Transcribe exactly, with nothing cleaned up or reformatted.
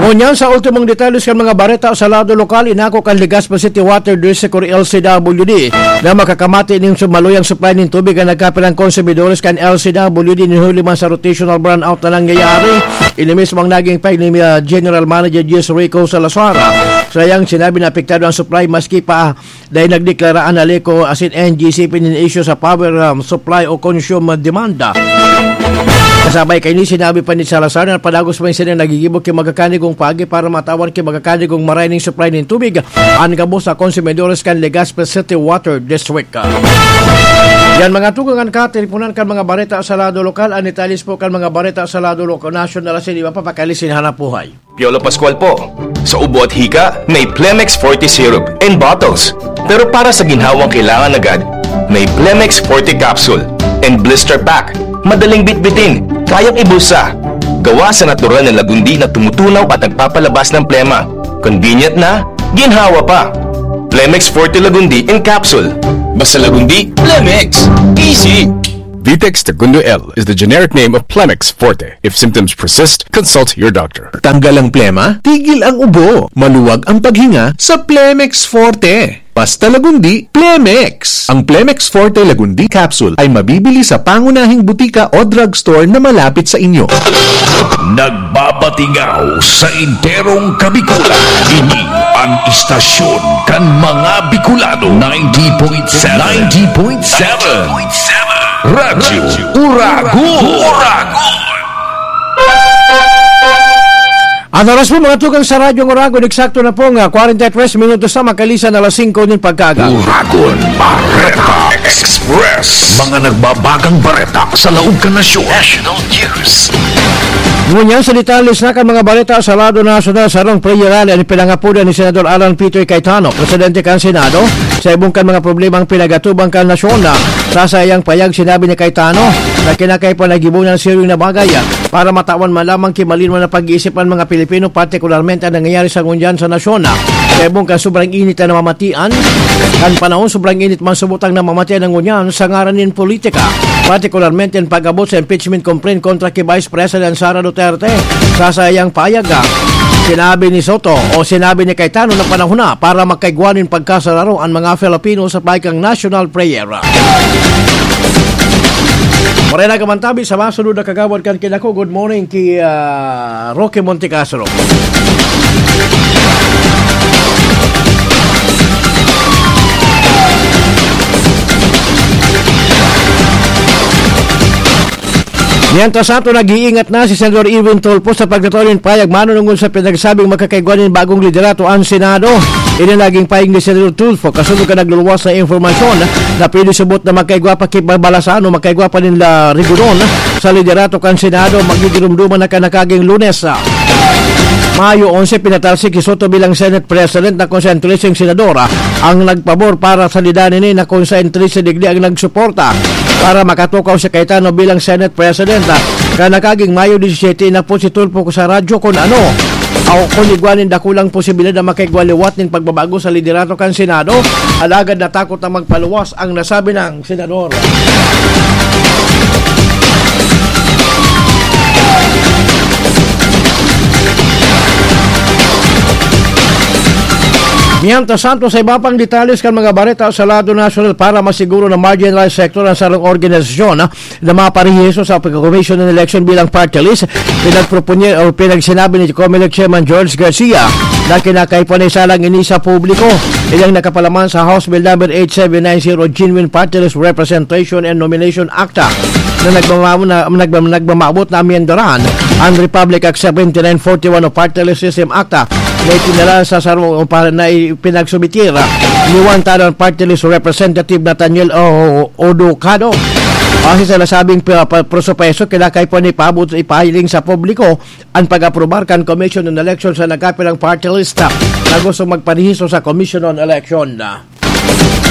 Ngunyan sa ultimong detalye kan mga bareta sa lado lokal, inako kan Legazpi City Water District or L C W D na makakamati nin sumaluyang supply nin tubig ang nagkapirang konsumidores kan L C W D nin huli man sa rotational brownout na nangyayari. Ini mismo ang naging pahayag ni, ah, General Manager Jess Rico Salazar. Sa iyang sinabi na apektado ang supply maski pa dahil nagdeklara an ALECO asin N G C P nin isyu sa power, um, supply o consume demand. Kasabay kaini, sinabi pa ni Salazar na padagos pa sila nagigibo ki magkakanigong paagi para matawan ki magkakanigong maray nin supply nin tubig an gabos sa konsumidores kan Legazpi City Water District. Yan mga tugang an kateleponan kan mga bareta sa lado lokal. An detalye po kan mga bareta sa lado lokal, nasyonal asin iba pa, pakalisin hanap buhay. Piolo Pascual po. Sa ubo at hika, may Plemex Forte Syrup in bottles. Pero para sa ginhawang kailangan agad, may Plemex Forte Capsule and Blister Pack. Madaling bitbitin, kayang ibulsa. Gawa sa natural na lagundi na tumutunaw at nagpapalabas ng plema. Convenient na, ginhawa pa. Plemex Forte Lagundi in Capsule. Basta lagundi, Plemex. Easy! Vitex Segundo L is the generic name of Plemex Forte. If symptoms persist, consult your doctor. Tanggal ang plema, tigil ang ubo, maluwag ang paghinga sa Plemex Forte. Basta Lagundi, Plemex. Ang Plemex Forte Lagundi Capsule ay mabibili sa pangunahing butika o drugstore na malapit sa inyo. Nagbabatingaw sa enterong Kabikulan. Ini ang istasyon kan mga Bicolano. Ninety point seven. Ninety point seven. Radyo Uragon. Uragon. An oras po, mga tugang, sa Radyo Uragon, eksakto na po nga kwarenta y tres minutos na makalisan alas singko nin pagkaaga. Uragon Bareta Express. Mga nagbabagang bareta sa laog kan nasyon. National News. Ngunyan sa detalye na kan mga bareta sa lado nasyonal, sarong prayer rally an pinangapodan ni Senador Alan Peter Cayetano, presidente kan Senado, sa ibong kan mga problemang pinagatubang kan nasyon. Sa saiyang payag, sinabi ni Cayetano na kinakaipuhan na gibohon an siring na bagay para matawan man lamang ki malinwan na pag-iisip an mga Pilipino, partikularmente an nangyayari sa ngunyan sa nasyon. Sa ibong kan sobrang init na namamatian, kan panahon sobrang init man subot ang namamatian na ngunyan sa ngaran nin politika, partikularmente an pag-abot sa impeachment complaint kontra ki Vice President Sara Duterte. Sa saiyang payag, sinabi ni Soto o sinabi ni Cayetano na panahon na para magkaigwa nin pagkasararo an mga Filipino sa paikang national prayer. Maray na kamantabi sa masunod na kagawad kan Kinako. Good morning ki, ah, Roque Montecastro. Mientras tanto, nag-iingat na si Senador Erwin Tulfo sa pagtataw nin payag manunungod sa pinagsabing makakaigwa nin bagong liderato an Senado. Ini naging pahayag ni Senador Tulfo kasunod kan nagluluwas na impormasyon na pwede subot na magkaigwa pa ki Balasan o magkaigwa pa nin La Rigodon sa liderato kan Senado. Magdidurumduman na kan nakaging Lunes, ah, Mayo onse, pinatalsik si Soto bilang Senate President na kung sa trese senador, ah, ang nagpabor para sa lidan ini na kung sa trese digdi ang nagsuporta para makatukaw si Cayetano bilang Senate President, ah. Kan nakaging Mayo disisiyete, inapod si Tulfo sa radyo kung ano o kung igwa nin dakulang posibilidad na makaigwa liwat nin pagbabago sa liderato kan Senado, alagad natakot na magpaluwas ang nasabi nang senador. Mientras tanto, sa iba pang detalles kan mga bareta sa lado nasyonal, para masiguro na marginalized sector ang sarong organisasyon, ah, na maparehiso sa Commission on Election bilang party list, pinagproponye o pinagsinabi ni Comelec Chairman George Garcia na kinakaipuhan na isalang ini sa publiko. Ilang nakapalaman sa House Bill number eight seven nine zero, Genuine Party List Representation and Nomination Act, ah, na nagmama-, na, nagmam-, nagmamaabot na amyendaran ang Republic Act seventy-nine forty-one o Party List System Act, ah, na itinala sa sarong, o pa-, na ipinagsumitir, ah, ni Wantanan Party List Representative Nathaniel O-, Odocado. Base sa nasabing pa-, pa-, proseso, kinakaipuhan ipaabot, ipahiling sa publiko ang pag-aprobar kan Commission on Election sa nagkapirang party list, ah, na gustong magparehiso sa Commission on Election.